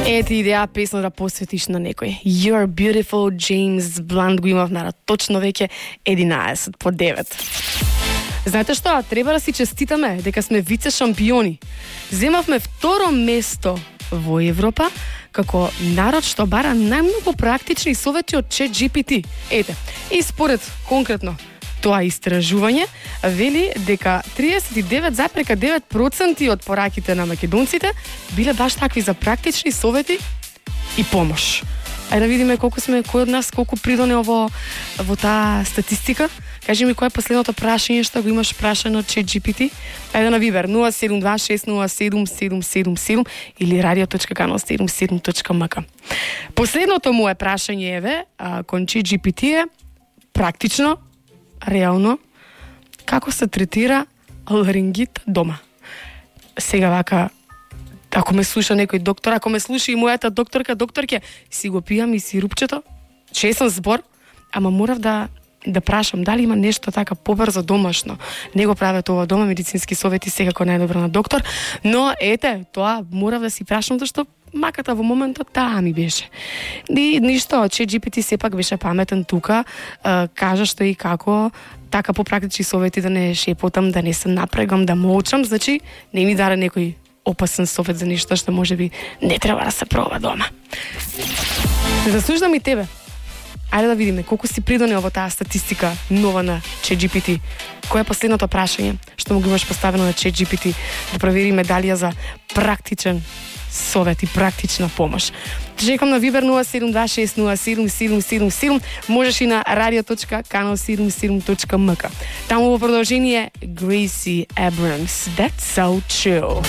Ети идеја песна да посветиш на некој. You're Beautiful, James Blunt го имав на точно веќе 11 по 9. Знаете што? Треба да си честитаме дека сме вице шампиони. Земавме второ место во Европа како народ што бара најмногу практични совети од ChatGPT. Ете, и според конкретно тоа истражување вели дека 39,9% од пораките на македонците биле баш такви за практични совети и помош. Ајде да видиме колку сме, кој од нас колку придонел во таа статистика. Кажи ми кој е последното прашање што го имаш прашано од ChatGPT? Ајде на Вибер 072607777 или radio.canal77.mk. Последното му е прашање кон ChatGPT е практично, реално, како се третира ларингит дома. Сега вака, ако ме слуша некој доктор, ако ме слуша и мојата докторке, си го пијам и сирупчето, чесен збор, ама морав да прашам дали има нешто така побрзо домашно. Не го прават ова дома, медицински совети секако најдобро на доктор, но ете, тоа морав да си прашам зашто маката во моментот таа ми беше. И ништо, ChatGPT сепак беше паметен тука, кажа што и како, така по практични совети да не шепотам, да не се напрегам, да молчам, значи не ми даде некој опасен совет за нешто што можеби не треба да се проба дома. Заслуждам и тебе. Ајде да видиме колку си придонел во таа статистика нова на ChatGPT. Кој е последното прашање што му го имаш поставено на ChatGPT, да провериме дали е за практичен совет и практична помош. Чекам на Viber 072607777. Можеш и на radio.canal77.mk. Таму во продолжение Gracie Abrams. That's so chill.